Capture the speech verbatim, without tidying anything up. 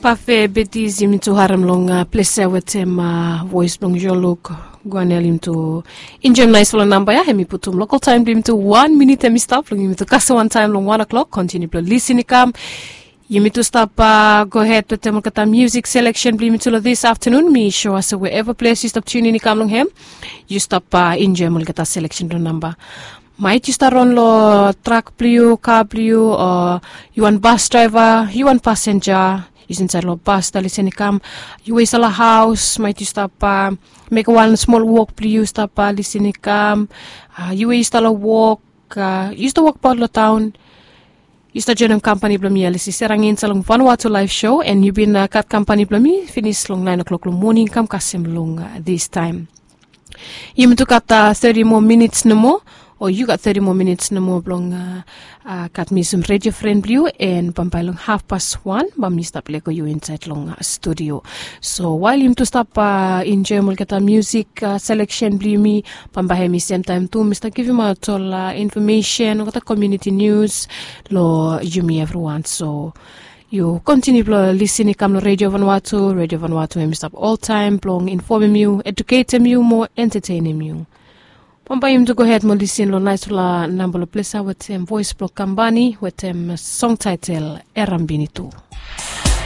Pafe betis yumi tu harem long ples ya wetem vois blong yoluk. Guanel yumi tu enjoem naispela namba ya, em i putum lokal taem blong yumi tu wan minit em i stap long yumi tu kasem wantaem long wan o'klok kontiniu blong lisin i kam. Yumi tu stap gohed wetem olgeta musik seleksen blong yumi tu long dis aftanun. Mi sua se wherever ples yu stap tunin i kam long hem, yu stap enjoem olgeta seleksen blong namba. Maet yu stap ron long trak blong yu, ka blong yu, o yu wan bas draeva, yu wan pasenja, yu stap insaed long bas stap lisin i kam. Yu we yu stap long haos, maet yu stap mekem wan smol wok blong yu stap lisin i kam. Yu we yu stap long wok, yu stap wokbaot long taon, yu stap joenem kampani blong mi ya lisi serangin insait long vanua tu laef sho, en yu bin gat kampani blong mi finis long naen o'klok long moning kam kasem long distaem. Yumi tu gat teti moa minits nomo, o yu gat teti moa minits nomo blong gat mi sem redio fren blong yu, en bambae long hafpas wan bae mi stap lego yu insaed long studio. So wael yumi tu stap enjoem olgeta musik seleksen blong yumi, bambae hem i semtaem tu mi stap givimaot ol infomesen, olgeta komuniti nius long yumi evriwan. So yu kontiniu blong lisin i kam long redio vanua tu. Redio vanua tu hem i stap oltaem blong infomem yu, eduketem yu mo entatenem yu. Bambae yumi tu gohed mo lisin long naispela namba long ples ya wetem vois blong kampani wetem song taetel Erambini tu.